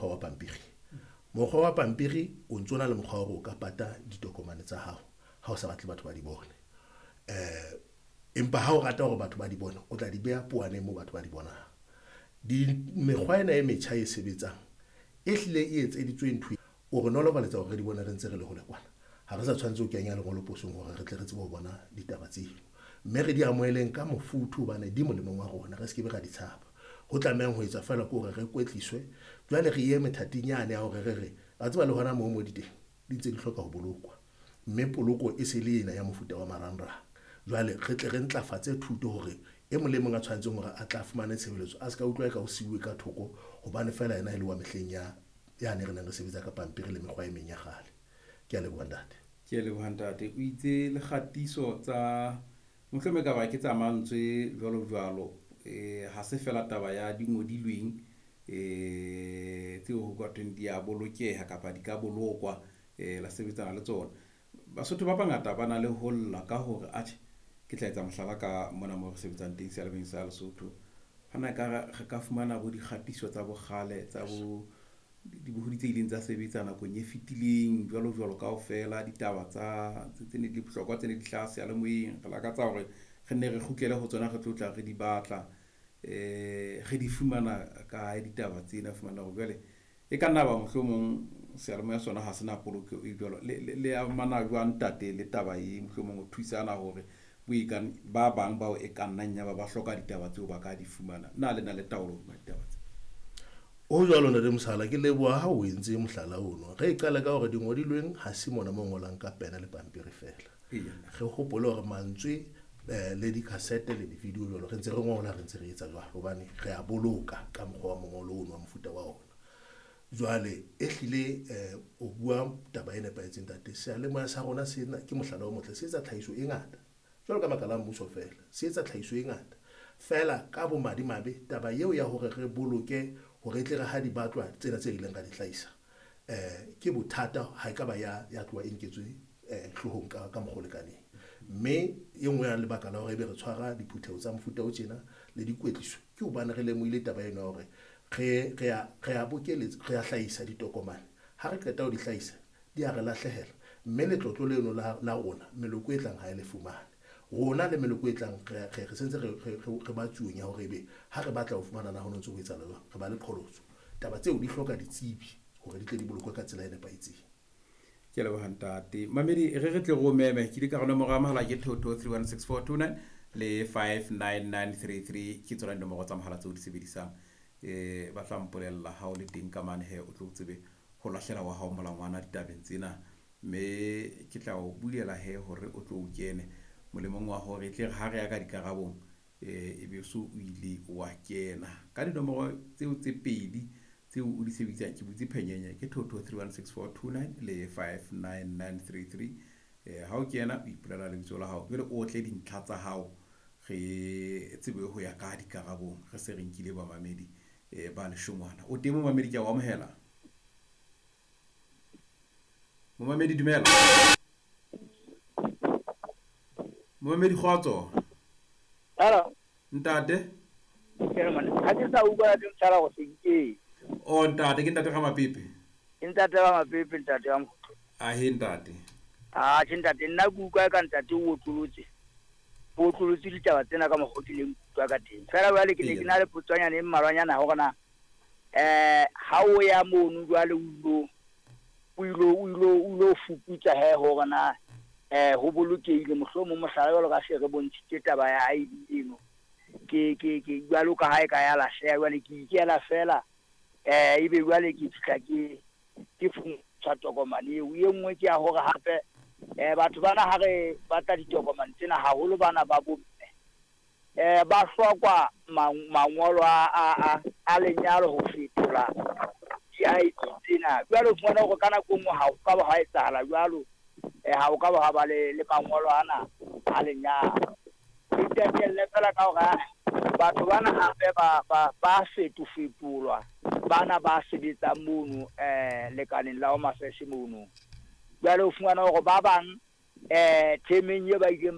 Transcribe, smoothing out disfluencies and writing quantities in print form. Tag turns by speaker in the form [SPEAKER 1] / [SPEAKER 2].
[SPEAKER 1] mokgwa wa pampiri. Mokgwa wa pampiri o ntso na le mokgwa wa hore o ka pata ditokomane tsa hao ha o sa batle batho ba di bone. Empa ha o rata hore batho ba di bone, o tla di beha powaneng moo batho ba di bonang. Mekgwa ena e metjha e sebetsang e hlile e etseditswe ntho o re nolofaletsa hore re di bone re ntse re le hole kwana. Ha re sa tshwanetse ho kenya lengolo posong hore re tle re tsebe ho bona ditaba tseno. Mme re di amoheleng ka mofuthu hobane di molemong wa rona, re se ke be ra di tshaba. Ho tlamehang ho etsa feela ke hore re kwetliswe. Jwale re ye methating yane ya hore re re, wa tseba le hona moo mo di teng, di ntse di hloka ho bolokwa. Mme poloko e se le ena ya mofuta wa marangrang. Jwale re tle re ntlafatse thuto hore e mong le mong a tshwanetseng hore a tla fumane tshebeletso a se ka utlwa eka o siuwe ka thoko hobane feela yena e le wa mehleng ya yane re neng re sebetsa ka pampiri le mekgwa e meng ya kgale. Ke a leboha ntate.
[SPEAKER 2] Ke a leboha ntate. O itse le kgatiso tsa mohlomong e ka ba ke tsa mantswe jwalo jwalo, ha se fela taba ya dingodilweng tseo ho ka thweng di a bolokeha kapa di ka bolokwa, la sebetsana le tsona. Basotho ba bangata ba na le ho lla ka hore atjhe, ke tla etsa mohlala ka mona moo re sebetsang teng seyalemoyeng sa Lesotho. Hana ekare re ka fumana bo dikgatiso tsa bokgale tsa bo dibohodi tse ileng tsa sebetsa nakong e fetileng jwalo jwalo kaofela, ditaba tsa tse ne di le bohlokwa tse ne di hlaha seyalemoyeng. Re lakatsa hore re nne re kgutlele ho tsona, re tlo tla re di batla, re di fumana kae ditaba tsena. Fumana hore jwale e ka nna ba mohlomong seyalemoya sona ha se na poloko e jwalo. Le amana jwang ntate le taba e mohlomong ho thusana hore ba bang bao e ka nnang ya ba ba hloka ditaba tseo ba ka di fumana? Na le na le taolo hodima ditaba tse?
[SPEAKER 1] O jwalo ntate Mosala, ke leboha ha o entse mohlala ono. Re qale ka hore dingodilweng ha se mona mo ngolang ka pena le pampiri fela. Re hopole hore mantswe le di-cassette le di-video jwalo re ntse re ngola, re ntse re etsa jwalo hobane re a boloka ka mokgwa wa mongolo ono wa mofuta wa ona. Jwale e hlile o bua taba e nepahetseng ntate. Seyalemoya sa rona sena ke mohlala o motle, se etsa tlhahiso e ngata jwalo ka makala a mmuso fela, se etsa tlhahiso e ngata fela. Ka bomadimabe taba eo ya hore re boloke hore e tle re ha di batlwa tsena tse ileng ra di hlahisa, ke bothata ha e ka ba ya tloha e nketswe hloohong ka mokgwa o lekaneng. Mme e nngwe ya lebaka la hore ebe re tshwara diphutheho tsa mofuta o tjena le dikwetliso ke hobane re lemohile taba eno ya hore re a bokeletsa, re a hlahisa ditokomane. Ha re qeta ho di hlahisa di a re lahlehela, mme letlotlo leno la rona meloko e tlang ha e le fumane. Rona le meloko e tlang re sentse re ba tsuong ya hore ebe ha re batla ho fumana na ho ntse ho etsahala jwang, re ba le qholotso. Taba tseo di hloka ditsebi hore di tle di bolokwe ka tsela e nepahetseng.
[SPEAKER 2] Ke a leboha ntate. Mamedi, re tle re o meme. Ke ile ka re nomoro ya mohala ke 22316429 le 59933 ke tsona dinomoro tsa mohala tseo di sebedisang. Ba tla mpolella ha o le teng ka mane he o tlo tsebe ho lahlela wa hao molangwana ditabeng tsena, mme ke tla o bulela he hore o tlo o kene molemong wa hore e tle re ha re ya ka dikarabong, e be so o ile wa kena ka dinomoro tseo tse pedi tseo o di sebedisang. Ke butse phenyenye ke 22316429 le 59933. Ha o kena o ipolela lebitso la hao, jwale o tle dintlha tsa hao re tsebe ho ya ka dikarabong. Re se re nkile bamamedi ba leshongwana. O teng momamedi, ke a o amohela. Momamedi dumela. Momamedi kgotso.
[SPEAKER 3] Hello.
[SPEAKER 2] Ntate.
[SPEAKER 3] Ha ke sa utlwa le motshara go senkeng.
[SPEAKER 2] O ntate, ke ntate ga Mapepe.
[SPEAKER 3] Ke ntate ga Mapepe, ntate wa Mokgotlo.
[SPEAKER 2] A he ntate.
[SPEAKER 3] Ah, ke ntate, nna ke utlwa ka ntate o otlolotse. O otlolotse ditaba tsena ka mokgwa o ke leng utlwa ka teng. Fela jwale ke ne ke na le potswanyana e mmalwanyana hore na ha o ya mono jwale o ilo fuputsa he hore na ho bolokehile mohlomong mohlala jwalo ka se re bontshitse taba ya ID eno. Ke jwalo ka ha e ka ya lahleha jwale ke ikela fela, ebe jwale ke fihla ke fumantshwa tokomane eo. E nngwe ke ya hore hape batho bana ha re batla ditokomane tsena haholo bana ba bomme, ba hlokwa mangolo a lenyalo ho fetola di-ID tsena. Jwale o fumana hore ka nako e nngwe ha ho ka ba ha etsahala jwalo, ha ho ka ba ha ba le mangolo ana a lenyalo. Ke qetelle fela ka hore batho bana hape ba fetofetolwa, bana ba sebetsang mono lekaleng la Home Affairs mono. Jwale o fumana hore ba bang themeng e ba ileng